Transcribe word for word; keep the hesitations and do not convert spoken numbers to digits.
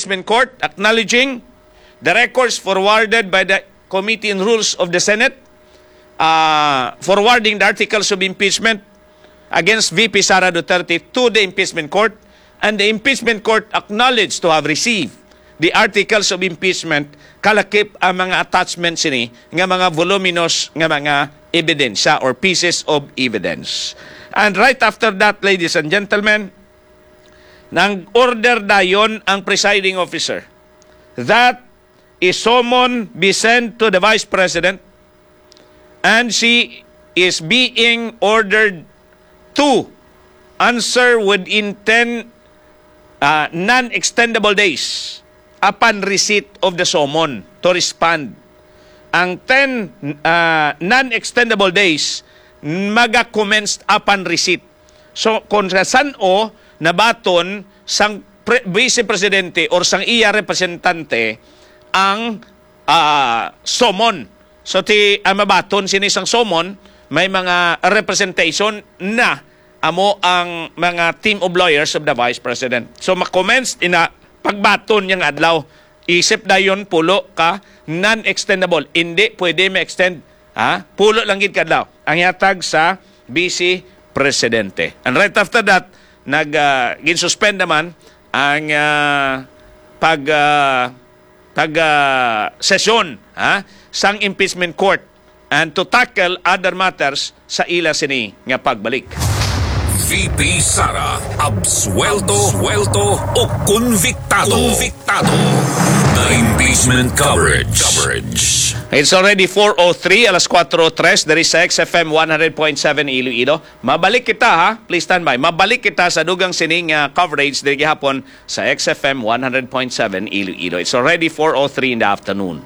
Impeachment Court acknowledging the records forwarded by the Committee on Rules of the Senate, uh, forwarding the articles of impeachment against V P Sara Duterte to the Impeachment Court, and the Impeachment Court acknowledged to have received the articles of impeachment, kalakip ang mga attachment sini nga mga voluminous nga mga ebidensya or pieces of evidence. And right after that, ladies and gentlemen, nang-order dayon ang presiding officer that a summon be sent to the Vice President, and she is being ordered to answer within ten, ah, non-extendable days upon receipt of the summon to respond. Ang ten, ah, non-extendable days maga-commence upon receipt. So, kung sa san-o nabaton sang pre-, Vice Presidente or sang iya representante ang, ah, summon. So, ti, ang mabaton sini sang summon, may mga representation na amo ang mga team of lawyers of the Vice President. So, ma-commence ina pagbaton niyang adlaw. Isip dayon pulo ka non-extendable. Hindi pwede ma-extend, ha? Pulo lang gid ka adlaw ang ihatag sa Vice Presidente. And right after that, nag, ah, ginsuspend naman ang, ah, pag, ah, pag, ah, sesyon, ha, sang impeachment court and to tackle other matters sa ila sini nga pagbalik. V P Sara, absuelto, absuelto o konviktado. Konviktado. The impeachment coverage. Coverage. It's already four oh three, alas kuwatro tres, diri sa X F M one hundred point seven Iloilo. Mabalik kita, ha? Please stand by. Mabalik kita sa dugang sining, ah, coverage diri gihapon sa X F M one hundred point seven Iloilo. It's already four oh three in the afternoon.